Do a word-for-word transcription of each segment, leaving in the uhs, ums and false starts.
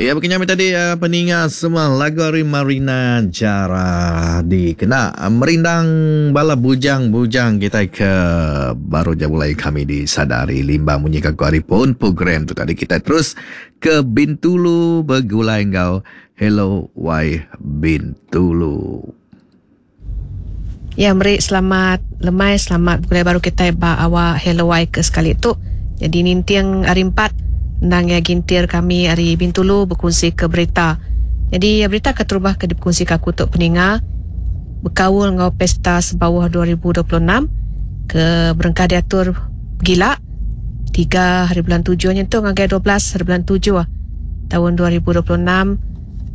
Ya, begini tadi uh, peninga semua lagu ari Marina Jara dikena merindang bala bujang-bujang kita ke baru je mulai kami disadari limbang munyi ka hari pun program tu tadi. Kita terus ke Bintulu begulai enggau Hello Y Bintulu. Ya, meri selamat lemai, selamat begulai baru kita ba awak Hello Y ke sekali tu. Jadi ninting hari empat nang ya gintir kami hari Bintulu berkongsi ke berita. Jadi berita keterubah ke dikongsi ke aku tok peninga berkaul ngau pesta sebawah dua ribu dua puluh enam ke berengkah diatur gila tiga hari bulan tujuh nyentuh ngagai dua belas hari bulan tujuh tahun dua ribu dua puluh enam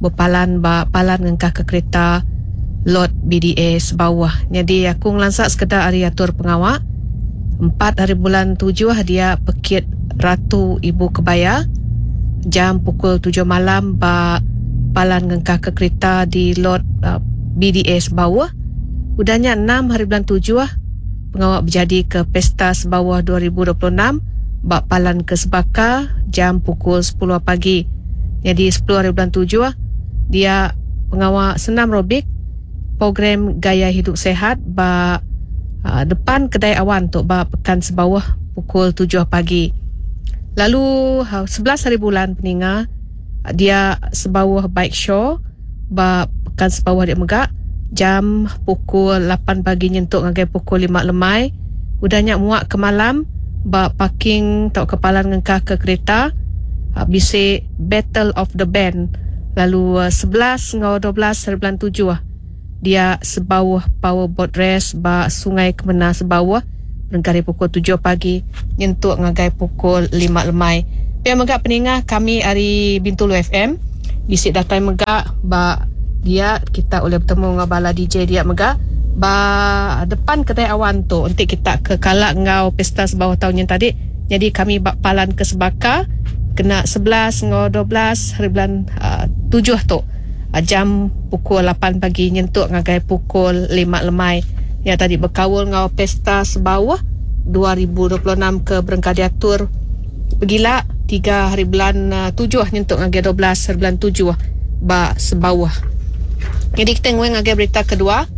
berpalan ba palan ngengkah ke kereta lot B D A sebawah. Jadi aku ngelansak sekedar hari atur pengawak empat hari bulan tujuh dia pekit Ratu Ibu Kebaya jam pukul tujuh malam ba palan ngengkah ke kereta di lot uh, B D A sebawah. Udahnya enam hari bulan tujuh pengawak berjadi ke pesta sebawah dua ribu dua puluh enam ba palan ke Sebaka jam pukul sepuluh pagi. Jadi sepuluh hari bulan tujuh dia pengawak senam robik program gaya hidup sehat ba uh, depan kedai awan tu ba pekan sebawah pukul tujuh pagi. Lalu sebelas hari bulan peninga dia sebawah bike show ba pekan sebawah dia megak jam pukul lapan pagi nyentuk ngagai pukul lima lemai. Udahnya muak ke malam ba parking tau kepalan ngengkah ke kereta bisi Battle of the Band. Lalu sebelas ngau dua belas hari bulan tujuh dia sebawah powerboat race ba Sungai Kemena sebawah berengkah pukul tujuh pagi nyentuk ngagai pukul lima lemai. Pia megak peningah kami hari Bintulu F M bisi datai megak ba dia kita boleh bertemu dengan bala D J dia megak ba depan kedai awan tu untuk kita ke kalak ngau pesta sebawah tahun yang tadi. Jadi kami bak palan ke Sebaka kena sebelas ngau dua belas hari bulan uh, tujuh tu uh, jam pukul lapan pagi nyentuk ngagai pukul lima lemai. Ya tadi berkawal ngau pesta sebawah dua ribu dua puluh enam ke berengkah diatur pergila tiga hari bulan uh, tujuh nyentuk ngagai dua belas hari bulan tujuh ba sebawah. Jadi kita nguang ngagai berita kedua.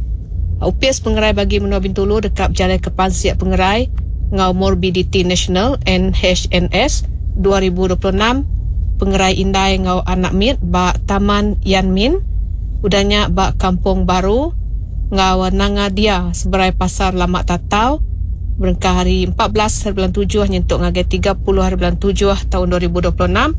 Upis pengerai bagi Menua Bintulu dekat berjalan ke Pansiak Pengerai ngau Morbidity National N H N S dua ribu dua puluh enam Pengerai Indai ngau Anak Mit ba Taman Yan Min udahnya ba Kampung Baru ngau Nanga Dia seberai Pasar Lama Tatau berengkah hari empat belas hari bulan tujuh nyentuk ngagai tiga puluh hari bulan tujuh tahun dua ribu dua puluh enam.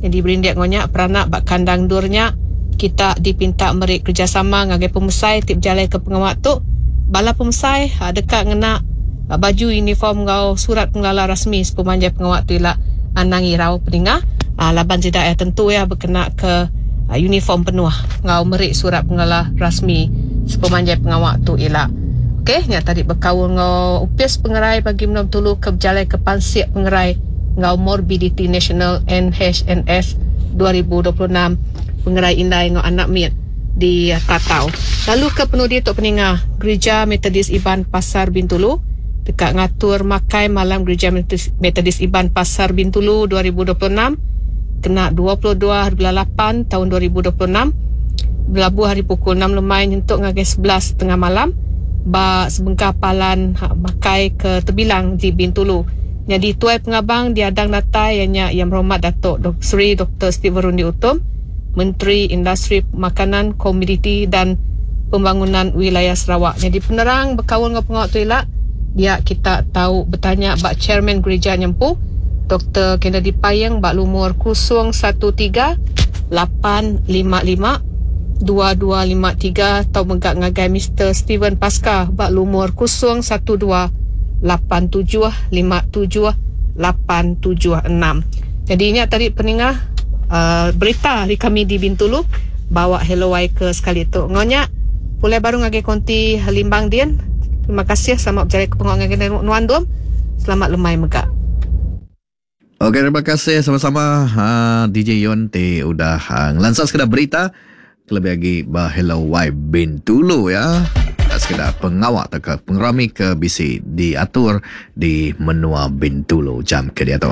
Jadi berindik ngonyak peranak bak kandang durnya kita dipinta merik kerjasama ngagai pemusai tip jalai ke pengawak tu. Bala pemusai dekat ngena baju uniform ngau surat pengelala rasmi sepemanjai pengawak tu ila anang irau peningah laban tidak ya tentu ya berkena ke uniform penuh ngau merik surat pengelala rasmi sepemanjai pengawak tu ila. Okey, nya tadi berkaul ngau upis pengerai bagi Menua Bintulu ke berjalai ke Pansiak Pengerai ngau Morbidity National N H N S dua ribu dua puluh enam Pengerai Indai ngau Anak Mit di Tatau. Lalu ke penudi tok peningah Gereja Methodist Iban Pasar Bintulu dekat ngatur makai malam Gereja Methodist Iban Pasar Bintulu dua ribu dua puluh enam kena dua puluh dua hari bulan lapan tahun dua ribu dua puluh enam berlabuh hari pukul enam lemai nyentuk ngagai sebelas tengah malam ba sebengkah palan ha, makai ke terbilang di Bintulu. Jadi tuai pengabang diadang datai ianya Yang Berhormat Datuk Dok Seri Doktor Stephen Rundi Utom, Menteri Industri Makanan, Komoditi dan Pembangunan Wilayah Sarawak. Jadi penerang berkaul dengan pengawak tu elak, dia kita tahu bertanya bak Chairman Gereja Nyempu Doktor Kennedy Payeng bak lumur kosong satu tiga lapan lima lima dua dua lima tiga atau megak ngagai Mister Steven Pasca bak lumur kosong satu dua lapan tujuh lima tujuh lapan tujuh enam. Jadi ini tadi peningah uh, berita di kami di Bintulu bawa Hello Y ke sekali tu. Ngonyak pulai baru ngagai konti Limbang Din. Terima kasih, selamat berjaya ke pengawak ngagai Nuan Dom. Selamat lemai megak. Okey, terima kasih sama-sama uh, D J Yon ti udah uh, ngelansar sekedar berita lebih lagi bah Hello Y Bintulu ya. Tak sekedar pengawak atau ke pengerami ke B C diatur di Menua Bintulu jam ke dia tu.